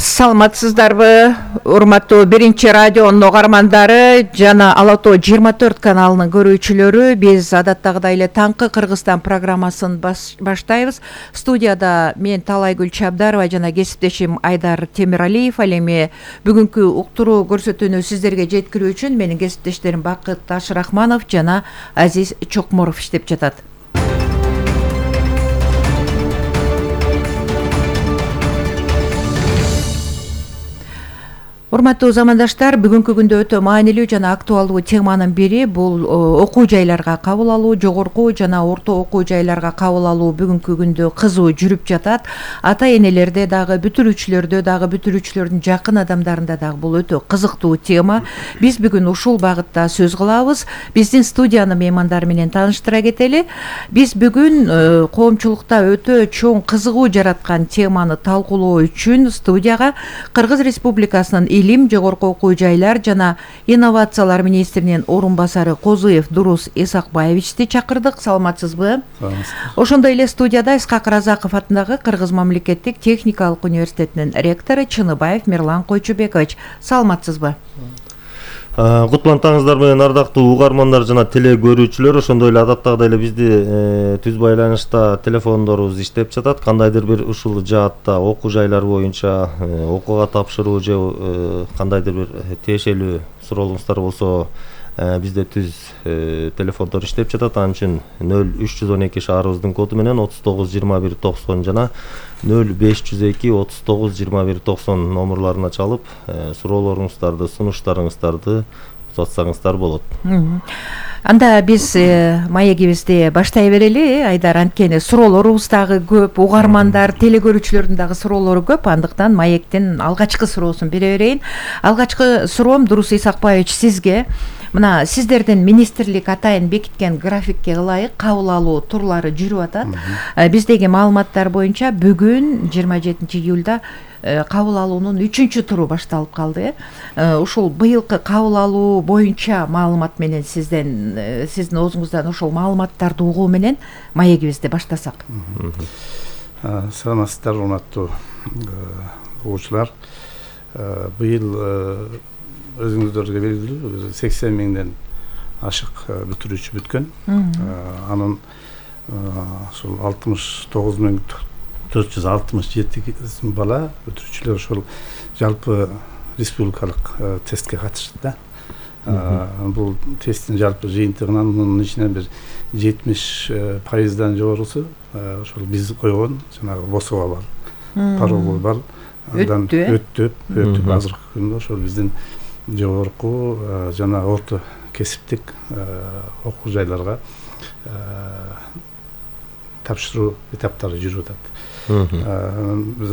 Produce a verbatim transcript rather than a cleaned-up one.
Саламатсыздарбы, урматтуу биринчи радионун угармандары жана Ала Тоо жыйырма төрт каналынын көрүүчүлөрү. Биз адаттагыдай эле таңкы Кыргызстан программасын баштайбыз. Студияда мен Талайгүл Чабдарова жана кесиптешим Айдар Темиралиев. Ал эми бүгүнкү уктуруу көрсөтүүнү сиздерге жеткирүү үчүн менин кесиптештерим Бакыт Ашрахманов жана Азиз Чокморов иштеп жатат. Урматтуу замандаштар, бүгүнкү күндө өтө маанилүү жана актуалдуу теманын бири бул окуу жайларга кабыл алуу, жогорку жана орто окуу жайларга кабыл алуу бүгүнкү күндө кызуу жүрүп жатат. Ата-энелерде дагы, бүтүрүүчүлөрдө дагы, бүтүрүүчүлөрдүн жакын адамдарында дагы бул өтө кызыктуу тема. Биз бүгүн ушул багытта сөз кылабыз. Биздин студиянын меймандары менен тааныштыра кетели. Биз бүгүн коомчулукта өтө чоң кызыгуу жараткан теманы талкуулоо үчүн студияга Кыргыз Республикасынын Илим, жогорку окуу жайлар жана инновациялар министринин орун басары Козуев Дурус Исакбаевичти чакырдык. Саламатсызбы? Ошондой эле студияда Исхак Разаков атындагы Кыргыз мамлекеттик техникалык университетинин ректору Чыныбаев Мирлан Койчубекович. Саламатсызбы? Кутлантаңыздар менен ардактуу угармандар жана теле көрүүчүлөр. Ошондой эле адаттагыдай эле бизди түз байланышта телефондорубуз иштеп жатат. Кандайдыр бир ушул жаатта окуу жайлар боюнча окууга тапшыруу же кандайдыр бир тиешелүү суроолуңуздар болсо, бизде түз телефондор иштеп жатат. Ал үчүн нөл үч жүз он эки шаарыбыздын коду менен отуз тогуз жыйырма бир токсон жана нөл беш жүз эки отуз тогуз жыйырма бир токсон номурларына чалып суроолоруңуздарды, сунуштарыңыздарды узатсаңыздар болот. Анда биз маегибизди баштай берели. Айдар, анткени суроолорубуз дагы көп, угармандар, теле көрүүчүлөрдүн дагы суроолору көп. Андыктан маектин алгачкы суроосун бере берейин. Алгачкы суроом Дурус Исакбаевич сизге. Мына сиздердин министрлик атайын бекиткен графикке ылайык кабыл алуу турлары жүрүп атат. Биздеги маалыматтар боюнча бүгүн жыйырма жетинчи июлда кабыл алуунун үчүнчү туру башталып калды. Ушул быйылкы кабыл алуу боюнча маалымат менен сизден, сиздин оозуңуздан ушул маалыматтарды угуу менен маегибизди баштасак. Саламатсыздар, урматтуу угуучулар. Быйыл өзүңүздөргө белгилүү сексен миңден ашык бүтүрүүчү бүткөн. Анын ушул алтымыш тогуз миң төрт жүз алтымыш жети бала бүтүрүүчүлөр ошол жалпы республикалык тестке катышты да. Бул тесттин жалпы жыйынтыгынан мунун ичинен бир жетимиш пайыздан жогорусу ошол биз койгон жанагы ВОСОго бар, парогу бар. Андан өттүп, өтүп азыркы күндө ошол биздин жогорку жана орто кесиптик окуу жайларга тапшыруу этаптары жүрүп атат. Биз